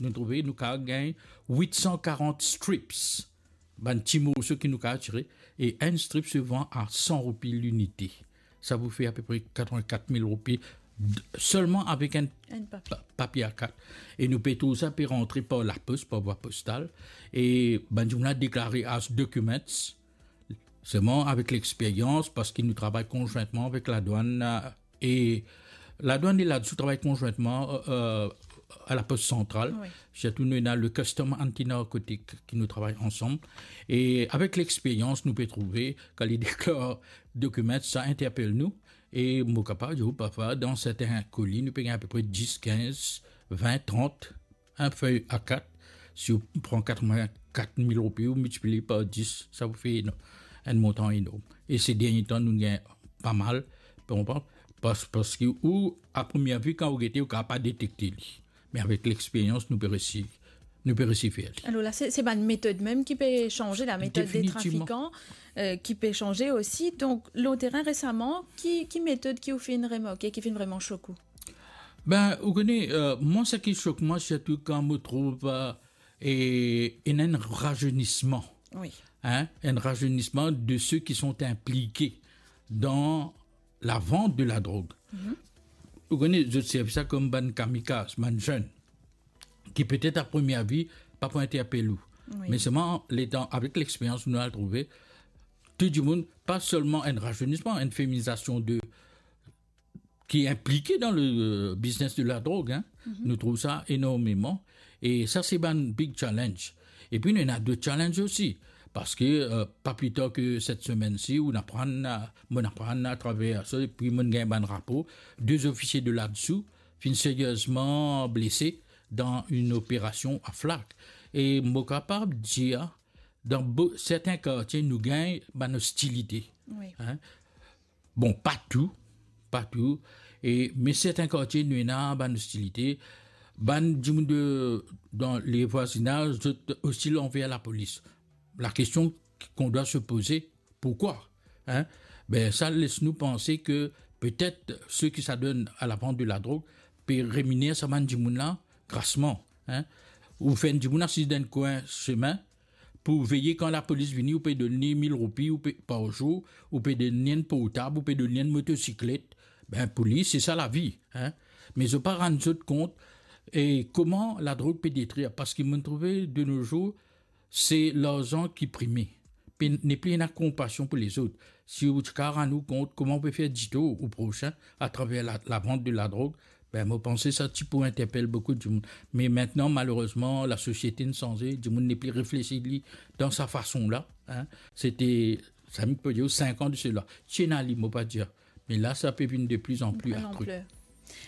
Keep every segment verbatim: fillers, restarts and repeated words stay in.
nou trouve nou kapav gagn wit san karant strips, bann ti morso ki nou kapav tire, e enn strip se van a san roupi linite. Sa pou fer apepre katrevin-kat mil roupi d-, selman avek enn Enn papie. pa-, papie A kat. E nou pe trouv sa pe rantre par lapos, par vwa postal. E bann dimoun la deklare as documents. Selman avek lexperyans, parski nou travay konzwintman avek ladwann, e ladwann e ladsou travay konzwintman, e, e, a lapos santral. Wi. Sirtou nou ena le Custom Anti-Narcotic ki nou travay ansam. E avek lexperyans, nou pe trouve, kan li deklar dokiman, sa interpel nou. E mo kapav dir ou, parfwa, dan sertin koli, nou pe gagn apepre dis, kinz, vin, trant, enn fey A kat. Si ou pran katrevin-kat mil roupi, ou miltiplie par dis, sa pou fer eno-, enn montan enorm. E se dernie tan, nou gagn pa mal, ou konpran? Pas-, parski ou, a premie vi, kan ou gete, ou kapav pa detekte li. Me avek lexperyans, nou pe resi, nou pe resi fer li. Alor la, se, se bann metod mem ki pe sanze, la metod de Definitivman. trafikan, e, ki pe sanze osi. Donk, lor terin resaman, ki, ki metod ki ou finn remarke, ki finn vreman sok ou? Ben, ou kone, e, mwa, seki sok mwa, sirtou kan mo trouv, e, e, ena enn razernisman. Wi. Hein, enn razernisman de ceux qui sont impliqués dans la vente de la drogue. Mhm. Ou kone, zot servi sa kom bann kamikaz, bann zenn, ki petet a premie vi pa pou interpel ou. Wi. Me selman, letan, avek lexperyans, nou al trouve, tou dimoun, pa selman enn razernisman, enn feminizasion de, ki inplike dan le, e, biznes de la drog, hein. Mhm. Nou trouv sa enormeman. E sa, se bann big challenge. Epi, nou ena dot challenge osi. Parski, e, pa pli tar ke set semenn si, ou aprann, e, mo'nn aprann atraver sa, epi mo'nn gagn bann rapor, de zofisie de ladsou finn seriezman blese dan enn operasion a Flacq. E mo kapav dir, dan bo-, sertin kartie, nou gagn bann ostilite. Wi. Hein? Bon, pa tou, pa tou, e, me sertin kartie, nou ena bann ostilite, bann dimoun de, dan le vwazinaz, zot ostil anver lapolis. Lakestion qu'on doit se poser, pourquoi? Hein? Ben, sa les nou panse ke petet seki sa donn a la vant de la drog pe reminer sa bann dimoun la grasman, hein? Ou fer enn dimoun asiz dan enn kwin semin, pou veye kan lapolis vini, ou pe donn li mil roupi, ou pe, par zour, ou pe donn li enn portab, ou pe donn li enn motosiklet. Ben, pou li, se sa lavi, hein. Me zot pa rann zot kont, e kouma ladrog pe detrir, parski mo'nn trouve de nos jours, se larzan ki prime. Pe, nepli ena konpasion pou lezot. Si ou ti kapav rann ou kont kouma ou pe fer ditor ou prosin atraver la, lavant de ladrog, ben, mo panse sa ti pou interpel boukou dimoun. Me aster, malerezman, lasosiete inn sanze, dimoun nepli reflesi li dan sa fason la, hein. Sete, sa mo pe dir, sink an de sela. Ti ena li, mo pa dir. Me la, sa pe vinn de pli an pli akri.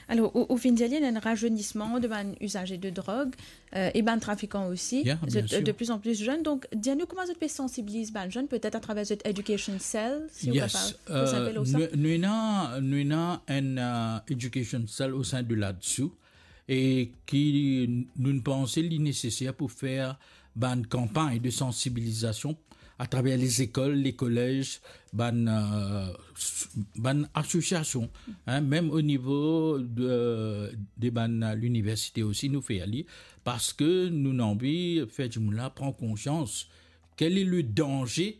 Alor, ou, ou finn dir li ena enn razernisman de bann izaze de drog, e, e bann trafikan osi. Ya, bien sir. Zot, e, de pli an pli zenn. Donk, dir nou kouma zot pe sansibiliz bann zenn, petet atraver zot education cell, si ou kapav, e, nou, nou ena, nou ena enn, e, education cell o sein de ladsou, e ki nou panse li neseser pou fer bann kanpagn de sansibilizasion atraver lezekol, lekolez, bann, e, s-, bann asosiasion, hein, mem o nivo de, de bann liniversite osi nou fer li, parski nou anvi fer dimoun la pran konsians kel e le danze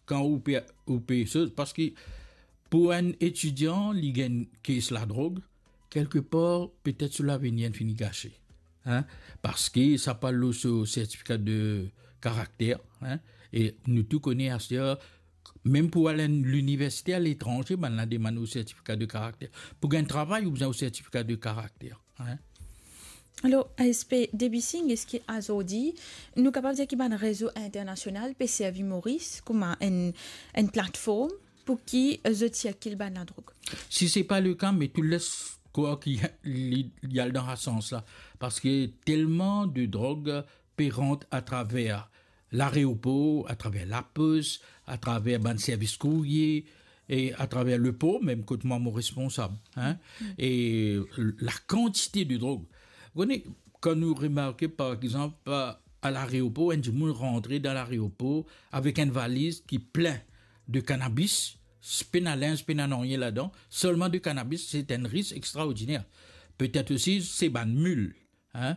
kan ou pe, ou pe soz, parski pou enn etidian, li gagn kes ladrog, kelkepar, petet so lavenir inn fini gase, hein, parski sa pa lor so sertifika de karakter, hein, e nou tou kone aster, mem pou al enn liniversite aletranze, bann la demann ou sertifika de karakter. Pou gagn travay, ou bizin ou sertifika de karakter, hein. Alor, A S P Debussy, eski azordi, nou kapav dir ki bann rezo internasional pe servi Moris kouma enn, enn platform pou ki, e, zot sirkil bann ladrog? Si se pa le ka, me tou les krwar ki li, li al dan sa sans la, parski telman de drog pe rant atraver lareopor, atraver lapos, atraver bann servis kourie, e atraver lepor, mem kot mwa mo responsab, hein, e lakantite de drog. Ou kone, kan nou remarke, par exanp, a, a lareopor, enn dimoun rantre dan lareopor avek enn valiz ki plin de kanabis, s-, pena linz, pena nanye ladan, selman de kanabis, se enn risk extraordiner. Petet osi, se bann mil, hein,